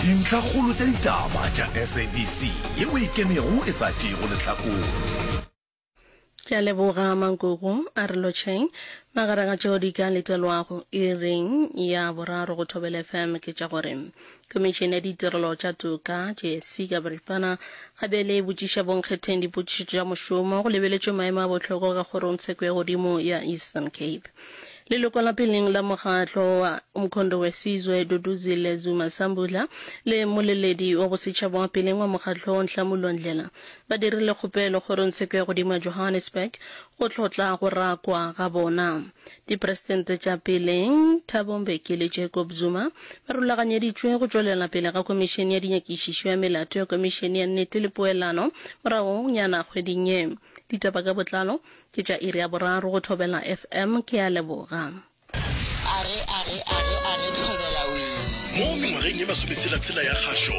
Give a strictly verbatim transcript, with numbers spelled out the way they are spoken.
Dintlhakgolo tša ditaba tša S A B C yeo e kenego e sa tšeego lehlakore. Ke a leboga Mankoko, a re lotšheng. Magareng a tšeo di ka letelwago iring ya boraro go Thobela F M ke tša gore Khomišene ya Ditirelo tša Toka, J S C ka boripana, ga bjale e botšiša bonkgetheng dipotšišo tša mošomo go lebeletšwe maemo a bohlokwa ka Kgorongtsheko ya Godimo ya Eastern Cape. Leloko la peleng la mokgatlo wa Umkhonto we Sizwe Duduzile Zuma Sambudla le mmoleledi wa bosetšhaba wa peleng wa mokgatlo Nhlamulo Ndlela ba dirile kgopelo Kgorongtsheko ya Godimo ya Johannesburg go hlotla go rakwa ga bona. Dipresidente tša peleng Thabo Mbeki le Jacob Zuma ba rulaganyeditšwe go tšwelela pele ga Khomišene ya Dinyakišišo ya Melato ya Khomišene ya Nnete le Poelano moragonyana kgweding ye. Ditaba ka botlalo ke tša iri ya boraro go Thobela F M. Ke a leboga. Age, age, age, age, Thobela wee. Mo mengwageng ye masometshela-tshela ya kgašo,